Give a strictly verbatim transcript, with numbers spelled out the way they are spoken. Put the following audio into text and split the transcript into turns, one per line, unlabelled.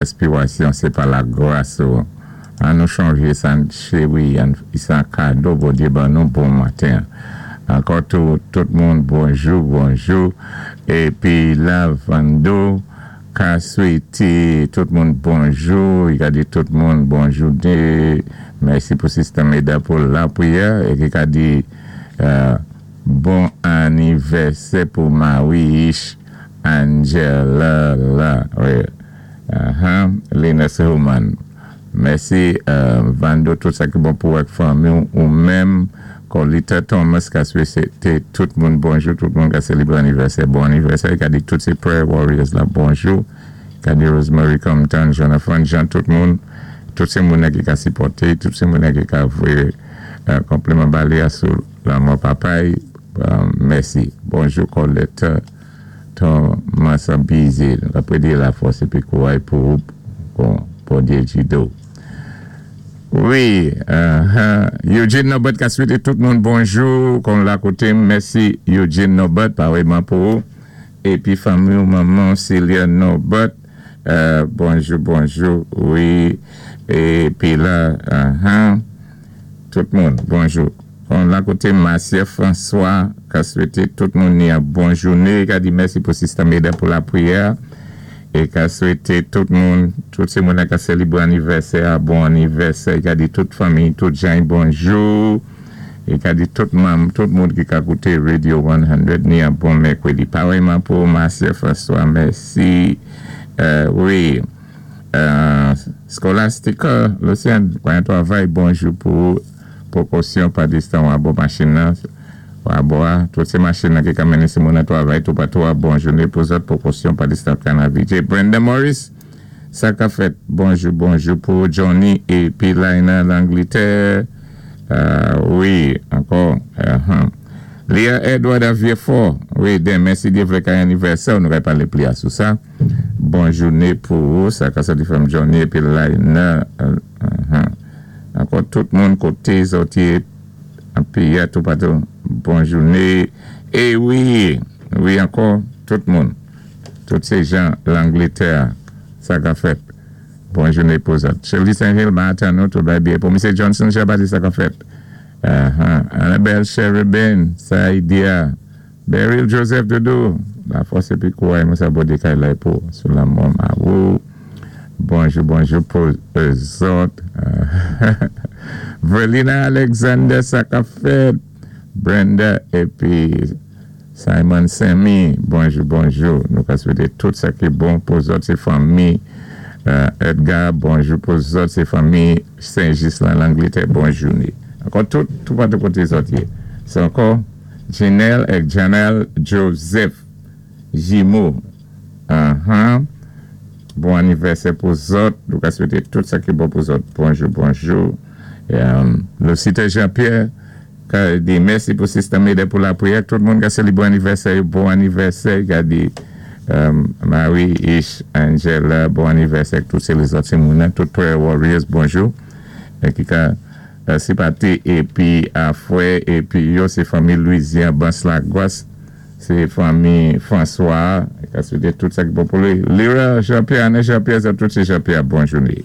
Respirasyon, sé pa lagras. An nou chanjé sa, wi, sé an kado, Bondyé ban nou bon maten. Ankò tou, tout moun, bonjou, bonjou. Épi la, Vando, ka swété tout moun bonjou, i ka di tout moun bonjou. Mèsi pou Sister Meda pou lapriyè é ki ka di euh, bon anivèsè pou Marie Angela la, wi. Uh-huh. Linus Human. Mèsi euh, Vando, tout sa ki bon pou ak fanmi ou menm Colita Thomas ka swété tout moun bonjou, tout moun ka sélébré anivèsè, bon anivèsè, ka di tout sé prayer warriors la bonjou, ka di Rosemary Compton, Jonathan Jean, tout moun, tout sé moun ki ka sipòté, tout sé moun ki ka voyé euh, konpliman ba li sou lanmò papa, euh, mèsi. Bonjou Coletta Thomas Bizet, apwé di lafòs épi kouway pou bon, Bondyé gidé. Wi, uh, Eugene Nobert ka swété tout moun bonjou, kon la koté, mèsi Eugene Nobert, parèyman pou ou. Épi fanmi ou manman Celia Nobert, euh, bonjou, bonjou, wi, épi la, uh-huh, tout moun, bonjou. Kon la koté Marcia François, ka swété tout moun ni an bon jouné, ka di mèsi pou Sister Meda pou lapriyè, é ka swété tout moun, tout sé moun ka sélébré anivèsè, bon anivèsè, ka di tout fanmi, tout jan bonjou, é ka di tout manm, tout moun ki ka kouté Radio san, ni an bon mèkwédi. Parèyman pou Marcia François, mèsi. Euh, wi, euh, Scholastica, Lucien, bon travay, bonjou pou pwékosyon pa distan abò machin nan, abò, tout sé machin nan ki ka mennen sé moun nan travay, tou patou, bon jouné pou zòt, pwékosyon pa distan Canavije. Brenda Morris, sa ka fèt, bonjou, bonjou pou Johnny épi Laina Langletè, euh, wi, ankò, uh-huh. Léa Edward à Vieux-Fort, wi, denmen si Dye vlé ka anivèsè, nou va palé plis sou sa. Bon jouné pou ou, sa ka soti from Johnny épi Laina, uh, uh-huh. Ankò tout moun koté zòt yé, épi tou patou, bon jouné. É wi, wi ankò, tout moun, tout sé jan Langletè, sa ka fèt. Bon jouné pou zòt. Shirley Saint-Hill, maten nou, tout bay byen. Pou Misye Johnson, Chabati, sa ka fèt. Uh-huh. Annabelle Cherubin, Saïdia, Beryl Joseph Doudou, lafòs épi kouway, mwen sa Bondyé kay la pou sou lanmò mawou. Bonjou, bonjou pou zòt. Verlina Alexander, sa ka fèt. Brenda épi Simon Semi, bonjou, bonjou. Nou ka swété tout sa ki bon pou zòt, sé fanmi. Edgar, bonjou pou zòt, sé fanmi Saint-Ghislain, Langletè, bon jouné. Ankò tout, tout patou koté zòt yé. Sé ankò Janelle et Janelle Joseph Jimo. Uh-huh. Bon anivèsè pou zòt. Nou ka swété tout sa ki bon pou zòt. Bonjou, bonjou. Um, Lucita Jean-Pierre, ka di mèsi pou Sister Meda pou lapriyè. Tout moun ka sélébré anivèsè, bon anivèsè. Ka di um, Marie Ish Angela, bon anivèsè. Tout sé lèzòt sé moun, tout Prayer Warriors, bonjou. É ki ka sipòté épi afwè épi yo sé fanmi Louisiane Bans-Lagwas, sé fanmi François, ka swété tout sa ki bon pou li. Lira Jean-Pierre, Anne Jean-Pierre, tout sé Jean-Pierre, bon jouné.